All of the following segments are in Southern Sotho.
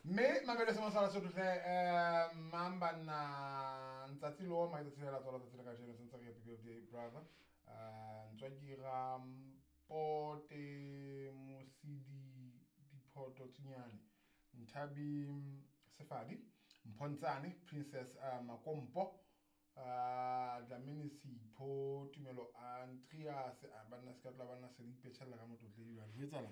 Mme mamelo se mosala sotho hle mang banna ntsatsi lo ma tsatsi la tswala tsatsi la kajeno sentse re happy birthday brother. Ntswakira Mpote Mosidi Diphoto Tsunyane Nthabi Sefadi Mphontsane Princess Makompo Dlamini Sipho Tumelo Andreas banna se ka tla banna se le ipetšhella ka motlotledi jwale ho etsahala.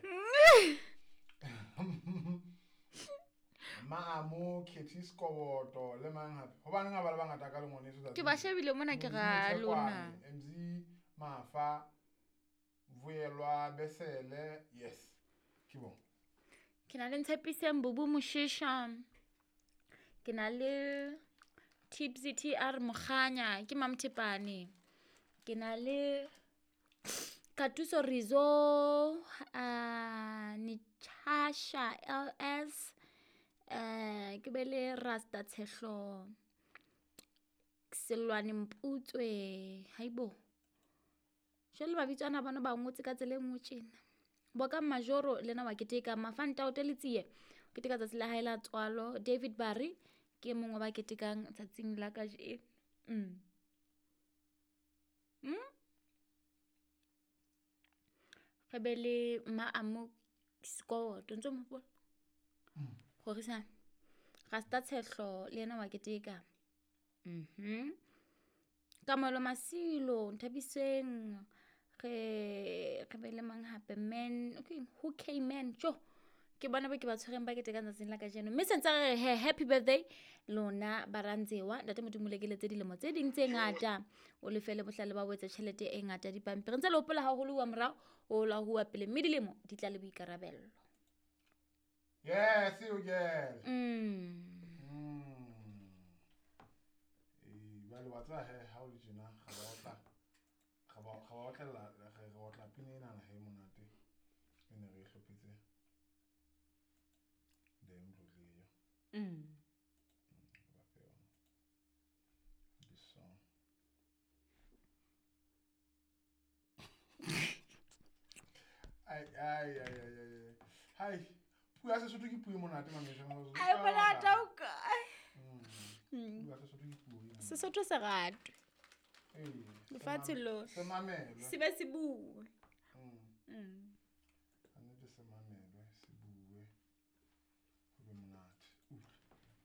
Maamo Khethi Sekoboto le mang hape hobaneng ha ba le bangata ka le ngwaneso Ke ba shebile mona ke ra lona. MZ Mafa Vuyelwa Besele yes ke bon. Ke na le Ntshepiseng Bubu Moshisha. Ke na le Tipsy TR Mokganya ke Mamthepane. Ke na le Katuso Rizo Nechasha LS ke be le Rasta Tshehlo Selwane Mputswe haibo. Jwale mabitso ana bona ba ngotse ka tsela e nngwe tjena. Boka Majoro le yena wa keteka, Mafanta o Teletsie o keteka tsatsi la hae la tswalo, David Barry ke mongwe wa ba ketekang tsatsing la kajeno. Re be le Maamo Sekoto ntso mo hopola? Rorisang. Rasta Tshehlo le yena wa keteka. Kamohelo Masilo, Nthabiseng, re be le mang hape man, okay, who came man, jo. Ke bona ba ke ba tshwereng ba ketekang tsatsing la kajeno. Mme sentse re re he happy birthday lona barantsewa. Ntate Modimo le keletse dilemo tse ding tse ngata. O lefele bohlale ba o etse tjhelete e ngata dipampiring. Ntse le hopola haholo wa morao, o la huwa pele mme dilemo di tla le boikarabello. Yes, you girl. Jwale wa tseba he ha o le tjena ga ba otla ga ba ga ba otlella re otla pina enana he monate e ne re e hlophetse le mtlotleyo. Ba fe yona. This song. Ai ai ai ai ai. Hai. Puo ya Sesotho ke puo e monate mamesha. Ai monate o kae? Puo ya Sesotho ke puo e monate. Sesotho se ratwe. Ee, Lefatshe lohle. Se mamelwe. Se be se bue.